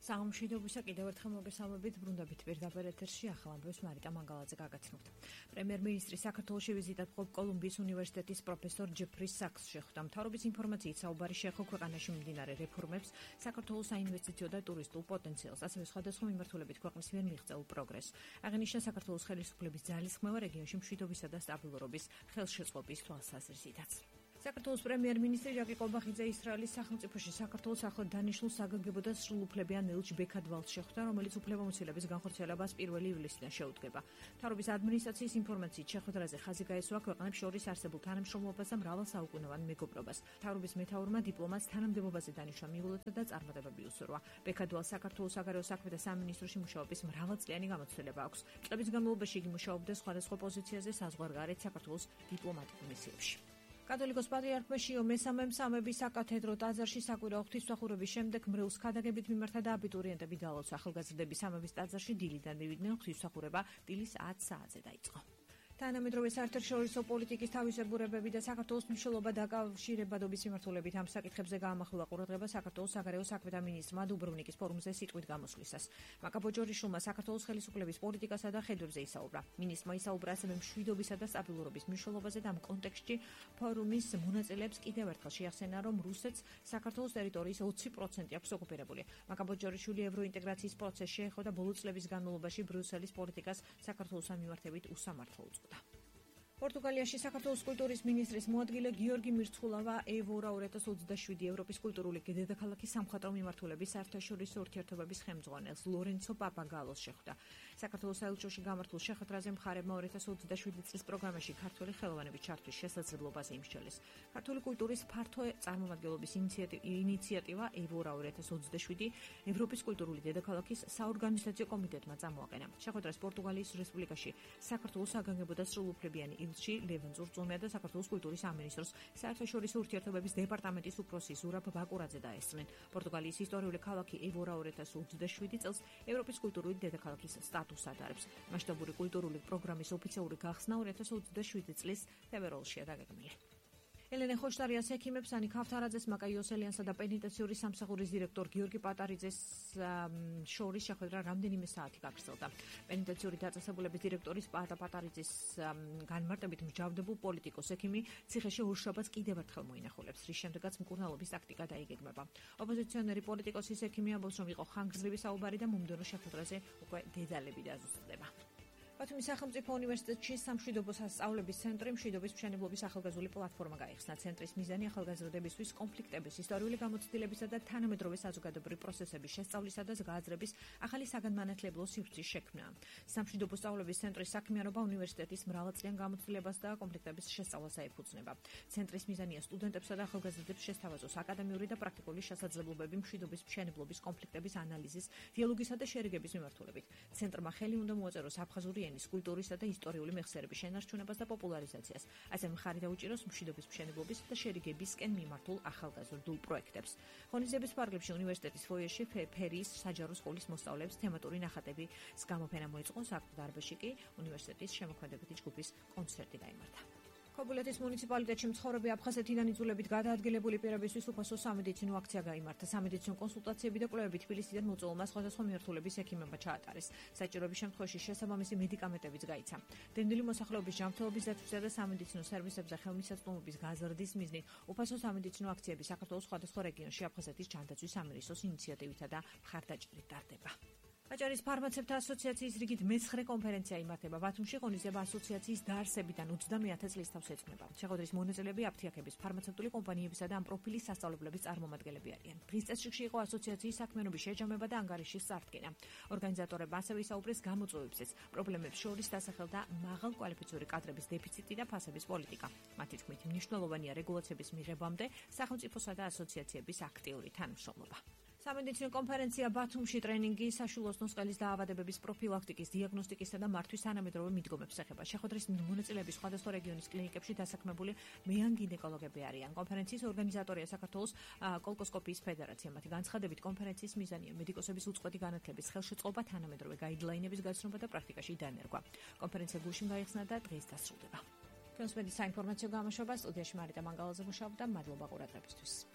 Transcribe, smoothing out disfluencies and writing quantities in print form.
სამშვიდობისა კიდევ ერთხელ მოგესალმებით, ბრუნდებით პირდაპირ ეთერში ახალ ამბებს მარიტა მანგალაძე გაგაცნობთ. პრემიერ-მინისტრი საქართველოში ვიზიტად მყოფ კოლუმბიის უნივერსიტეტის პროფესორ ჯეფრი საკს შეხვდა. მთავრობის ინფორმაციით საუბარი შეეხო ქვეყანაში მიმდინარე რეფორმებს, საქართველოს საინვესტიციო და ტურისტულ პოტენციალს, ასევე სხვადასხვა მიმართულებით ქვეყნის მიერ მიღწეულ პროგრესს. აღინიშნა საქართველოს ხელისუფლების ძალისხმევა რეგიონში მშვიდობისა და სტაბილურობის ხელშეწყობის თვალსაზრისითაც. საქართველოს პრემიერ-მინისტრი ჟაკი ყობახიძე ისრაელის სახელმწიფოში საქართველოს ახლად დანიშნულ საგანგებო და სრულუფლებიან ელჩ ბექადვალს შეხვდა, რომელიც უფლებამოსილების განხორციელებას 1 ივლისიდან შეუდგება. მთავრობის ადმინისტრაციის ინფორმაციით შეხვედრაზე ხაზი გაესვა ქვეყნებს შორის არსებულ თანამშრომლობას და მრავალსაუკუნოვან მეგობრობას. მთავრობის მეთაურმა დიპლომატს თანამდებობაზე დანიშვნა მიულოცა და წარმატებები უსურვა. ბექადვალს საქართველოს საგარეო საქმეთა სამინისტროში მუშაობის მრავალწლიანი გამოცდილება აქვს. წლების განმავლობაში იგი მუშაობდა სხვადასხვა პოზიციაზე საზღვარგარეთ საქართველოს დიპლომატიურ მისიებში. კათოლიკოს პატრიარქმა შიო მესამემ სამების საკათედრო ტაძარში საკვირაო ღვთისმსახურების შემდეგ მრევლს ქადაგებით მიმართა და აბიტურიენტები დაალოცა. ახალგაზრდების სამების ტაძარში დილიდან მივიდნენ, ღვთისმსახურება დილის 10 საათზე დაიწყო. თანამედროვე საერთაშორისო პოლიტიკის თავისებურებები და საქართველოს მნიშვნელობა დაკავშირებადობის მიმართულებით ამ საკითხებზე გაამახვილა ყურადღება საქართველოს საგარეო საქმეთა მინისტრმა დუბრუნიკის ფორუმზე სიტყვით გამოსვლისას. მაკაბოჯორიშვილმა საქართველოს ხელისუფლების პოლიტიკასა და ხედვებზე ისაუბრა. მინისტრმა ისაუბრა ასევე მშვიდობისა და სტაბილურობის მნიშვნელობაზე და ამ კონტექსტში ფორუმის მონაწილეებს კიდევ ერთხელ შეახსენა, რომ რუსეთს საქართველოს ტერიტორიის 20% აქვს ოკუპირებული. მაკაბოჯორიშვილი ევროინტეგრაციის პროცესში ეხო და ბოლო წლების განმავლობაში ბრიუსელის პოლიტიკას საქართველოსთან მიმართებით უსამართლო უწოდა. პორტუგალიაში საქართველოს კულტურის მინისტრის მოადგილე გიორგი მირცხულავა ევორა 2027 ევროპის კულტურული დედაქალაქის სამხატვრო მიმართულების საერთაშორისო ურთიერთობების ხელმძღვანელს ლორენცო პაპაგალოს შეხვდა. საქართველოს საელჩოში გამართულ შეხვედრაზე მხარებმა 2027 წლის პროგრამაში ქართველი ხელოვანების ჩართვის შესაძლებლობაზე იმსჯელეს. ქართული კულტურის ფართო წარმომადგენლობის ინიციატივა ევორა 2027 ევროპის კულტურული დედაქალაქის საორგანიზაციო კომიტეტმა წამოაყენა. შეხვედრას პორტუგალიის რესპუბლიკაში საქართველოს საგანგებო და სრულუფლებიანი ილჩი ლევან ზურწუმია და საქართველოს კულტურის სამინისტროს საერთაშორისო ურთიერთობების დეპარტამენტის უფროსი ზურაბ ბაკურაძე დაესწრნენ. პორტუგალიის ისტორიული ქალაქი ევორა 2027 წელს ევროპის კულტურული დედაქალაქის სტატუსს ატარებს. მასშტაბური კულტურული პროგრამის ოფიციალური გახსნა 2027 წლის თებერვალშია დაგეგმილი. ელენე ხოშტარიას ექიმებს ანი ქავთარაძეს, მაკა იოსელიანსა და პენიტენციური სამსახურის დირექტორ გიორგი პატარიძეს შორის შეხვედრა რამდენიმე საათი გაგრძელდა. პენიტენციური დაწესებულების დირექტორის პატა პატარიძის განმარტებით მსჯავრდებულ პოლიტიკოს ექიმი ციხეში ორშაბათს კიდევ ერთხელ მოინახულებს, რის შემდეგაც მკურნალობის ტაქტიკა დაიგეგმება. ოპოზიციონერი პოლიტიკოსის ექიმი ამბობს, რომ იყო ხანგრძლივი საუბარი და მომდევნო შეხვედრაზე უკვე დედალები დაზუსტდება. ბათუმის სახელმწიფო უნივერსიტეტში სამშვიდობო სასწავლების ცენტრი მშვიდობის მშენებლობის ახალგაზრდული პლატფორმა გაიხსნა. ცენტრის მიზანი ახალგაზრდებისთვის კონფლიქტების, ისტორიული გამოცდილებისა და თანამედროვე საზოგადოებრივი პროცესების შესწავლისა და გააზრების ახალი საგანმანათლებლო სივრცის შექმნაა. სამშვიდობო სწავლების ცენტრის საქმიანობა უნივერსიტეტის მრავალწლიან გამოცდილებას და კონფლიქტების შესწავლას ეფუძნება. ცენტრის მიზანია სტუდენტებსა და ახალგაზრდებს შესთავაზოს აკადემიური და პრაქტიკული შესაძლებლობები მშვიდობის მშენებლობის კონფლიქტების ანალიზის, დიალოგისა და შერიგების მიმართულებით. ცენტრმა ხელი უნდა მოაწეროს აფხაზური ენის, კულტურისა და ისტორიული მეხსიერების შენარჩუნებას და პოპულარიზაციას. ასე მხარი დაუჭიროს მშვიდობის მშენებლობის და შერიგებისკენ მიმართულ ახალგაზრდულ პროექტებს. ღონისძიების ფარგლებში უნივერსიტეტის ფოიეში ფერიის საჯარო სკოლის მოსწავლეებს თემატური ნახატების გამოფენა მოეწყო. საქმე დარბაზში კი უნივერსიტეტის შემოქმედებითი ჯგუფის კონცერტი გაიმართა. ქობულეთის მუნიციპალიტეტში მცხოვრები აფხაზეთიდან იძულებით გადაადგილებული პირებისთვის უფასო სამედიცინო აქცია გაიმართა. სამედიცინო კონსულტაციები და კვლევები თბილისიდან მოწვეულმა სხვადასხვა მიმართულების ექიმებმა ჩაატარეს. საჭიროების შემთხვევაში შესაბამისი მედიკამენტებიც გაიცა. დენდილი მოსახლეობის ჯანმრთელობის დაცვისა და სამედიცინო სერვისებზე ხელმისაწვდომობის გაზრდის მიზნით უფასო სამედიცინო აქციები საქართველოს სხვადასხვა რეგიონში აფხაზეთის ჯანდაცვის სამინისტროს ინიციატივითა და მხარდაჭერით ტარდება. აჭარის ფარმაცევტთა ასოციაციის რიგით მე-9 კონფერენცია იმართება. ბათუმში ღონისძიება ასოციაციის დაარსებიდან 20-ე წლის თავს ეძღვნება. შეხვედრის მონაწილეები აფთიაქების, ფარმაცევტული კომპანიებისა და ამ პროფილის სასწავლებლების წარმომადგენლები არიან. დღის წესრიგში იყო ასოციაციის საქმიანობის შეჯამება და ანგარიშის წარდგენა. ორგანიზატორებმა ასევე ისაუბრეს გამოწვევებზეც, პრობლემებს შორის დასახელდა მაღალკვალიფიციური კადრების დეფიციტი და ფასების პოლიტიკა. მათი თქმით, მნიშვნელოვანია რეგულაციების მიღებამდე სახელმწიფოსა და ასოციაციების აქტიური თანამშრომლობა. სამედიცინო კონფერენცია ბათუმში ტრენინგი საშუალო სკოლის დაავადებების პროფილაქტიკის, დიაგნოსტიკისა და მართვის თანამედროვე მიდგომებს ეხება. შეხვედრის მონაწილეები სხვადასხვა რეგიონის კლინიკებში დასაქმებული მეან გინეკოლოგები არიან. კონფერენციის ორგანიზატორია საქართველოს კოლკოსკოპიის ფედერაცია. მათი განცხადებით, კონფერენციის მიზანია მედიკოსების უწყვეტი განათლების ხელშეწყობა, თანამედროვე გაიდლაინების გაცნობა და პრაქტიკაში დანერგვა. კონფერენცია გუშინ გაიხსნა და დღეს დასრულდება. კონსპედიცია საინფორმაციო გამოშვება სტუდიაში მარიტა მანგალაძე მუშაობდა. მადლობა ყურადღებისთვის.